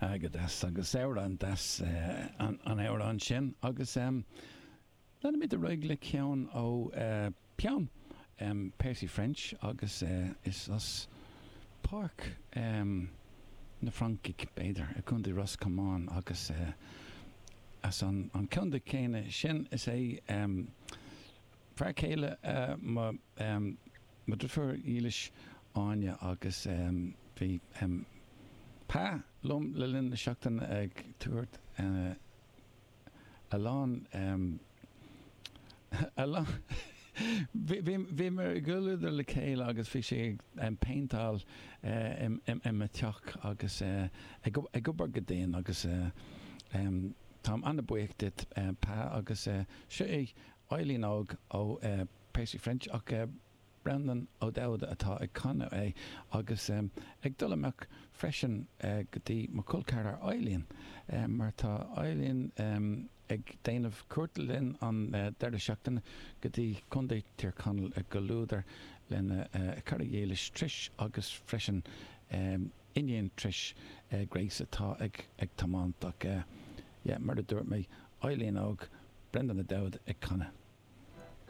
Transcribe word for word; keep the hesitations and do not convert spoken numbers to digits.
Go deas agus amhrán deas an amhrán sin agus leanfaimid ar aghaidh le ceann ó peann Percy French agus is as Páirc na Francaigh b'fhéidir i gContae Ros Comáin agus as an contae céanna sin is é fear céile mo mo dheirfiúr dhílis Áine agus bhí Pa liom le linn na seachtaine ag tabhairt a lán a lán bhíomar i gcomhluadar le chéile agus bhí sé ag péinteáil i mo theach agus ag obair go dian agus táim an-bhuíoch duit Pa agus seo é Eileen Óg ó Percy French ach Breandán Ó Dubhda atá ag canadh é agus ag dul amach freisin go dtí mo chol ceathrar Eileen mar tá Eileen ag déanamh cuairt linn an deireadh seachtaine go dtí Contae Thír Chonaill i gcomhluadar lena cara dhílis Trish agus freisin iníon Trish Grace atá ag ag tiomáint ach yeah mar a dúirt mé Eileen Óg Breandán Ó Dubhda ag canadh.